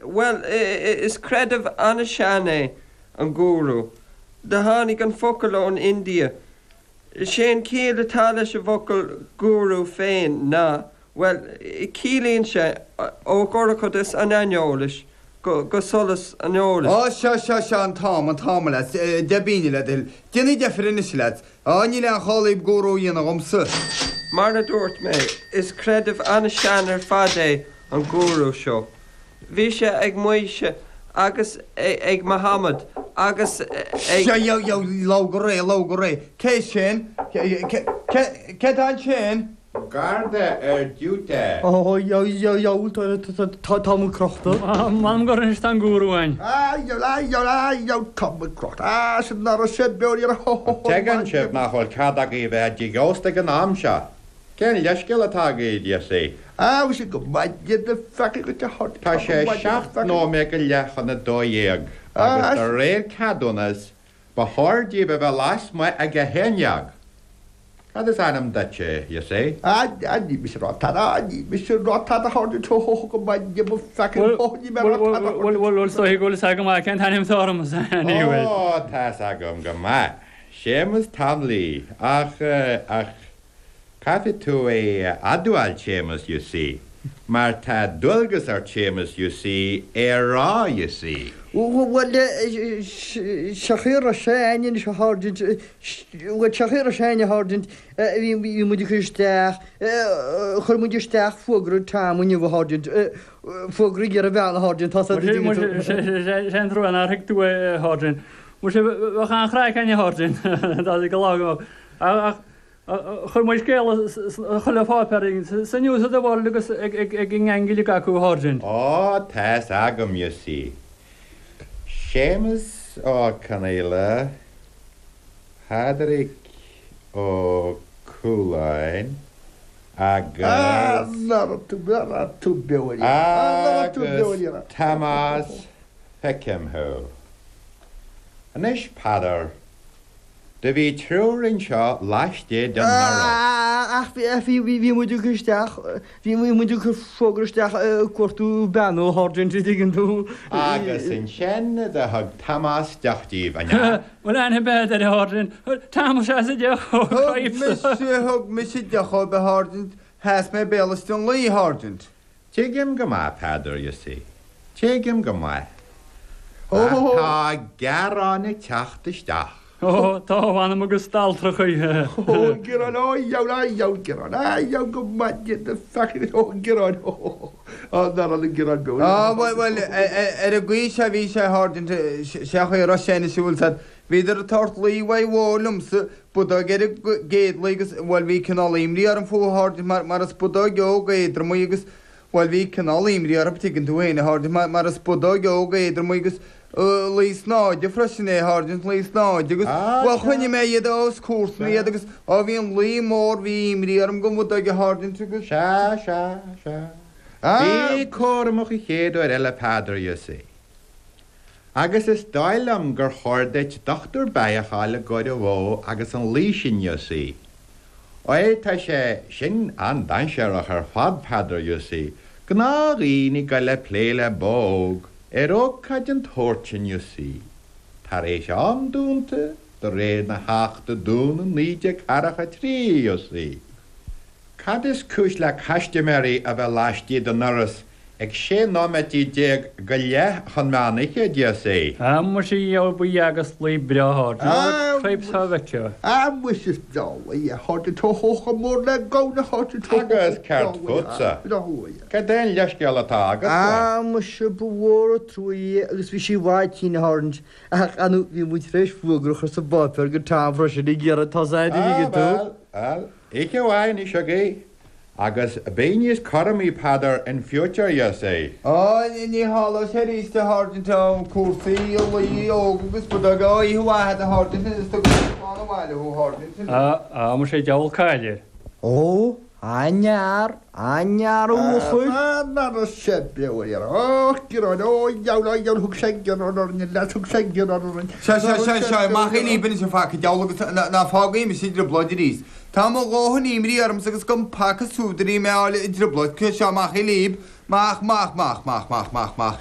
Bhuel, is creideamh an-sean é an gúrú. Do tháinig an focal ón India. Sé an chiall atá leis an bhfocal gúrú féin ná, bhuel, ciallaíonn sé ó dhorchadas an aineolais go solas an eolais. Á, seo, seo, seo an t-am, an t-am, a leaids, deich bpingine le do thoil. Déanaigí deifir anois, a leaids. Á, níl aon chall dhaoib gúrú a dhéanamh dhomsa. Mar a dúirt mé, is creideamh an-sean ar fad é an gúrú seo. Bhí sé ag Maois agus ag Mahamad agus ag. Seo, yo, yo, labhair go réidh, labhair go réidh. Cé sin? Cé, cé, cé tá ansin? Garda ar diúité. Ó, yo, yo, yo, tá, tá muid crochta. M'anam gur anois tá an gúrú againn. Á, yo, á, yo, á, yo, tá muid crochta. Á, sin ná raibh sé beo ní raibh, ho, ho, ho, Tuigeann sibh nach bhfuil cead agaibh a bheith i dtigh ósta ag an am seo. Cén leithscéal atá agaibh, you see? Á, bhí sé go maidin a pheacaí dhuit a thabhairt. Tá sé 17 nóiméad go leith chun 12 agus de réir ceadúnas ba chóir daoibh a bheith lasmuigh ag 11. Cad is ainm duit, you see? Á, á, ní mise ag rá tada, á, ní mise ag rá tada a thabhairt duit, ho, ho, ho, go maidin mo pheacaí, ho, ho, ní mé ag rá tada a thabhairt duit. Bhuel, bhuel, is dóigh go bhfuil fhios agam go maith cén t-ainm atá orm, ní bhfuil. Ó, tá fhios agam go maith. Séamus Tom Lee, ach, ach, Caithfidh tú é a admháil, Séamus, you see, mar tá dualgas ort, Séamus, you see, é a rá, you see. Bhuel, sé an chaoi a raibh sé anois a Sháirsint, bhuel, sé an chaoi a raibh sé a Sháirsint, bhí muid ag cur isteach, chuir muid isteach fógra Tom inniu a Sháirsint, fógra ag iarraidh bean a Sháirsint, tá a fhios agat. Sé an trua nár thuig tú é, a Sháirsint. Muise, bheadh an-chraic againn, a Sháirsint, dá go lá go mbeadh. Ach Chuir muid scéala chuile pháipéar sa News of the World agus ag an ngang uilig acu, a Sháirsint. Ó, tá's agam, you see. Séamus Ó Conaola, Pádraig Ó Cualáin agus. Agus Tomás, feicim thú. Anois, Peadar. Do bhí triúr anseo laistigh den ndoras. Ach bhí bhí muid ag cur isteach, bhí muid ag cur fógra isteach ag cuartú bean a Sháirsint, an dtuigeann tú. Agus ansin do thug Tomás deoch díbh, an ea? Bhuel aithne bead ar a Sháirsint, Tomás sheas a deoch ó Thug mise, thug mise deoch dhóibh a Sháirsint, sheas mé béal istigh den lao, a Sháirsint. Tuigim go maith, Peadar, you see. Tuigim go maith. Ach tá gearáin ag teacht isteach. Ó, tá, a mh'anam agus d'alltrachaí. Ó, gearáin, ó, dheabhail, á, dheabhail, gearáin, á, dheabhail go maith, the fucking, ó, gearáin, ó, á, ná raibh na gearáin beo. Á, bhuel, bhuel, ar an gcaoi seo a bhí sé, a Sháirsint, sé an chaoi a raibh sé anois, an bhfuil 's a'd. Bhíodar ag tabhairt lao mhaith mhór liomsa, budóg ar an gcéad lao agus, bhuel, bhí cineál imní orm fúthu, a Sháirsint, mar, mar is budóg óg éadrom í agus, bhuel, bhí cineál imní orthu, tuigeann tú féin, a Sháirsint, mar, mar is budóg óg éadrom í agus lao snáide freisin é, a Sháirsint, lao snáide agus, Ah, bhuel, sea. choinnigh mé iad os comharsan iad agus, ó, bhí an lao mór, bhí imní orm don bhudóg, a Sháirsint, agus. Sea, sea, sea. Ah. Bí cúramach an chéad uair eile, Peadar, you see. Agus is dóigh liom gur chóir duit dochtúir beithíoch a fháil i gcomhair an bhó agus an lao sin, you see. Óir tá sé sin an-dainséarach ar fad, Peadar, you see, gnáthdhaoine ag goil ag plé le bó óg ar ócáid den tsórt sin, you see, tar éis am dúnta de réir na hAchta Dúnadh 1943, you see. Cad is cúis le caistiméirí a bheith laistigh den ndoras ag 16 nóiméidí go leith chun meán oíche, do you see? Ah muise gheobhaidh buí agus lao breá a Sháirsint, cripes thá bhfeicfeá. Ah muise is breá lao é a Sháirsint, ho ho chomh mór le gamhna a Sháirsint, ho ho Agus breá céard lao é, fútsa? breá lao é. Cad é an leithscéal atá agatsa? Ah muise ba mhór an trua é agus bhí sí i bhfad tinn a Sháirsint, ach ar ndóigh bhí muid tar éis fógra a chur sa bpáipéar go Tom freisin ag iarraidh tosaigh an Ah dtuigeann tú. bhuel, bhuel, Oíche mhaith anois agaibh, agus bí níos cúramaí, Peadar, in future, you see. Á, ní tharlóidh sé arís, a Sháirsint, á, cúrsaí lao óg agus budóg, á, oíche mhaith agat, a Sháirsint, is tugaim slán abhaile thú, a Sháirsint. Á, á, muise diabhal caill air. Ó, an-fhear, an-fhear a bhuachaill. Á, ná raibh sé beo ar iarraidh. Ó, gearán, ó, dheabhail, á, dheabhail, thug sé gearán orainn, a leads, thug sé gearán orainn. Seo, seo, seo, seo, amach libh anois a phaca diabhal agus ná fágaigí mise i dtrioblóid arís. Tá mo dhóthain imní ormsa agus gan paca súdairí mé a fháil i dtrioblóid. Seo, amach libh, amach, amach, amach, amach, amach, amach, amach.